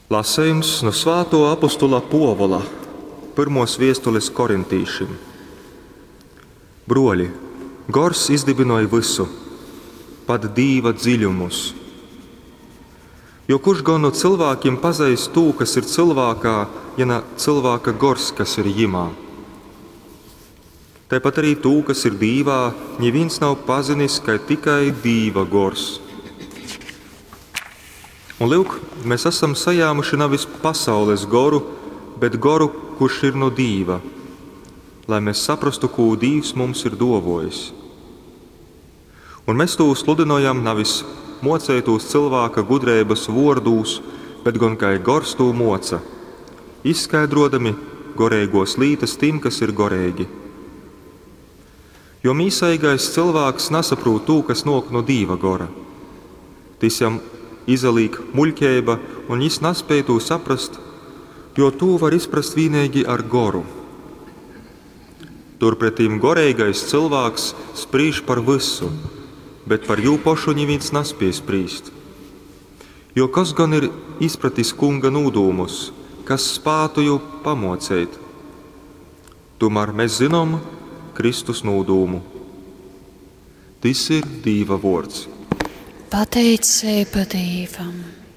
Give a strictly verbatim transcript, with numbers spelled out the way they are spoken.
Lasejums nu svātuo apostula Puovula pyrmuos viestulis korintīšim. Bruoļi, Gors izdybynoj vysu, pat Dīva dziļumus. Jo kurš gon nu cylvākim pazeist tū, kas ir cylvākā, ja na cylvāka gors, kas ir jimā? Taipat arī tū, kas ir Dīvā, nivīns nav pazinis, kai tikai Dīva gors. Un lyuk, mēs esam sajāmuši nevis pasaules goru, bet goru, kurš ir no Dīva, lai mēs saprastu, kū Dīvs mums ir duovojis. Un mēs tū sludynojam nevis mocētūs cylvāka gudreibys vuordūs, bet gon kai gors tū moca, izskaidrodami goreigos lītas tim, kas ir goreigi. Jo mīsaigais cylvāks nasaprūt tū, kas nuok no Dīva gora. Tys jam izalīk muļķeiba, un jis naspēj tū saprast, jo tū var izprast vīneigi ar goru. Turpretim goreigais cylvāks sprīž par vysu, bet par jū pošu nivīns naspiej sprīst. Jo kas gan ir izpratis kunga nūdūmus, kas spātu jū pamoceit? Tomēr mēs zinām Kristus nūdūmu. Tys ir Dīva vuords. Pateiceiba Dīvam!